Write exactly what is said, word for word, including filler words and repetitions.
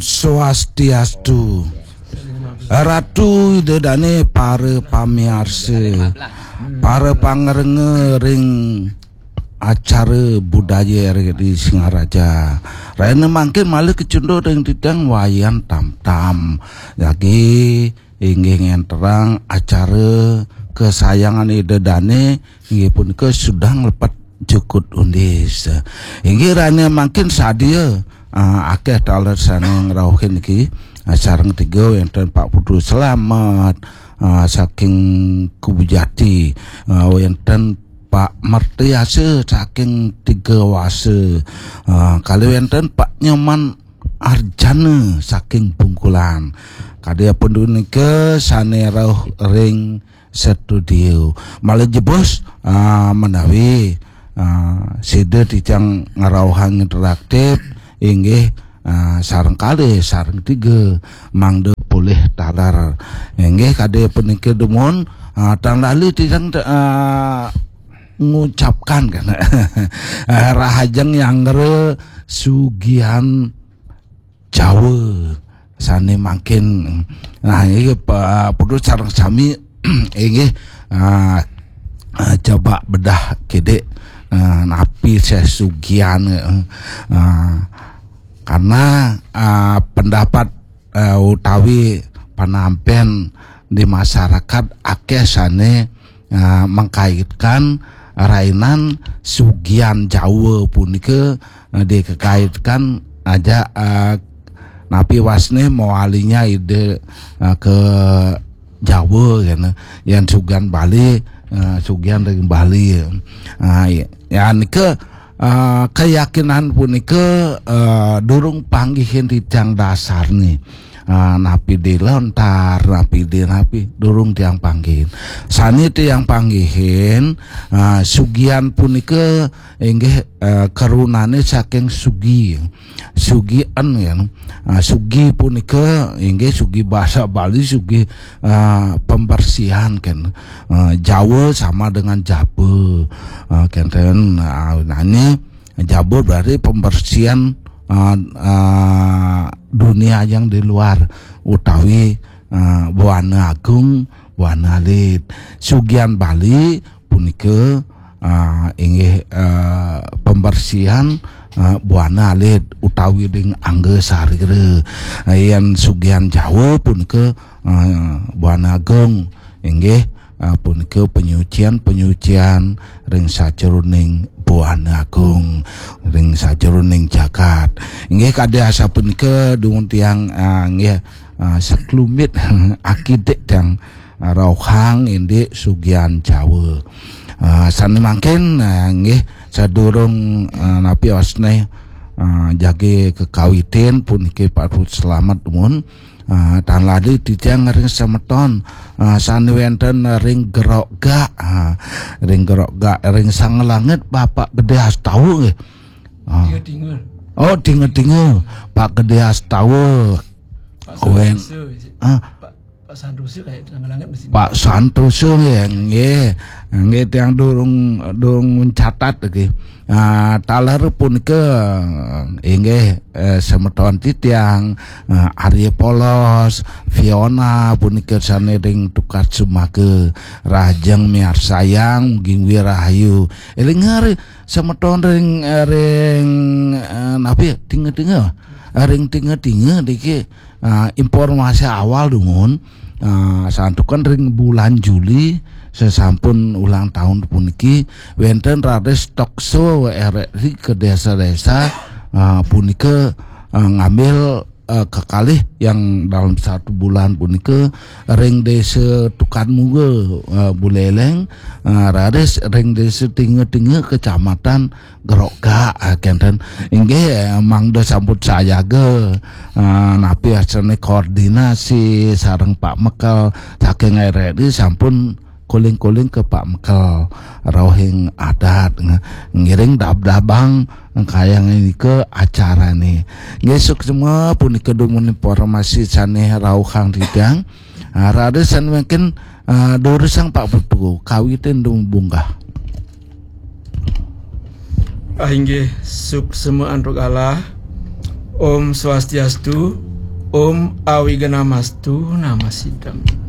Swastiastu. Ratu Ida Dane, para pamiarsa, para pangrengga ring acara budaya R R I Singaraja. Rahina mangkin malih kacunduk ring titiang Wayan Tamtam. Jagi inggih ngenterang acara kesayangan Ida Dane, inggih punika Sudang Lepet Jukut Undis. Inggih rahina mangkin sadia, ah, akeh taler sane ngrauhin niki, ah, sareng tiga wenten Pak Putu Slamet, ah, saking Kubujati, ah, wenten Pak Mertiasa saking Tiga Wasa, ah, kalih wenten Pak Nyoman Arjana saking Bungkulan. Kadi punika sane rauh ring studio. Malih jebos, ah, menawi, ah, sida titiang ngrauhang interaktif, inggih, ah, sareng kalih, sareng tiga, mangda polih taler. Inggih, kadi punika dumun, ah, tan lali titiang, ah, ngucapkan kan. Ah, rahajeng nyanggra sugihan Jawa sane mangkin. Nah, iki Pak Putu sareng sami inggih, ah, ah, coba bedah kidik, ah, napi sesugihan, eh, ah, karena, ah, pendapat, eh, utawi panampen di masyarakat akeh sane, eh, mengkaitkan rainan sugihan Jawa punika, eh, dikekaitkan aja, eh, napi wasne mawalinya Ida, eh, ke Jawa kene. Yan sugihan Bali, eh, sugihan ring Bali. Ah, ya, ya nika, eh, keyakinan punika, eh, durung panggihin titiang dasarne. Ah, napi di lontar, napi di napi, durung tiang panggihin. Sane tiang panggihin, ah, sugihan punika inggih, eh, karunane saking sugi. Sugi en ya. Ah, sugi punika inggih sugi basa Bali, sugi, ah, pembersihan kan. Ah, Jawa sama dengan jaba. Ah, kenten, ah, nane jaba berarti pembersihan, ah, ah, dunia yang di luar utawi, ah, buana agung, buana alit. Sugihan Bali punika, ah, inggih, ah, pembersihan, ah, buana alit utawi ring angga sarira. Ah, yen sugihan Jawa punika, ah, buana agung, inggih, ah, punika penyucian-penyucian ring sajeroning buana agung, ring sajeroning jagat. Inggih kadi asapunika dumun tiang, ah, inggih, ah, saklumit akidik tiang, ah, rauhang indik sugihan Jawa. Ah, sane mangkin, ah, nggih, sadurung, ah, napi wasne, ah, jagi kekawitin puniki patut selamet dumun. Ah, tan lali titiang ring semeton, ah, sane wenten ring Gerok Gak, ah, ring Gerok Gak, ring Sangalangit Bapak Gede Astawa nggih. Ah. Tinga-tinga. Oh, tinga-tinga. Pak Gede Astawa. Pak Wen. Santoso, ah. Pak, Pak Santoso kayak langit di sini. Pak Santoso nggih, nggih. Nggih tiang durung, durung mencatat nggih. Ah, taler punika inggih, eh, semeton titiang, eh, Arya Polos, Fiona punika sane ring Tukad Sumaga, rahajeng miarsayang, mugi rahayu. Eling hari semeton ring, eh, ring, eh, napi tinga-tinga. Eh, ring tinga-tinga niki, eh, informasi awal dumun, eh, santukan ring bulan Juli sesampun ulang tahun puniki wenten raris talk show R R I ke desa-desa, eh, punika, eh, ngambil, eh, kekalih yang dalam satu bulan punika ring desa Tukad Muga, eh, Buleleng, eh, raris ring desa Tinga-Tinga Kecamatan Gerok Gak, eh, kenten. Inggih, eh, mangda sampun sayaga, eh, napi asane koordinasi sareng Pak Mekel saking R R I sampun kuling-kuling ke Pak Mekel rauhing adat nge-, ngiring dab-dabang kayang nika acarane. Nggih, suksma punika dumun informasi sane rauhang titiang. Ah, raris sane mangkin, ah, durusang Pak Putu kawitin dumun bunggah. Ah, inggih, suksma antuk galah. Om Swastiastu. Om Awiganamastu Namasiddham.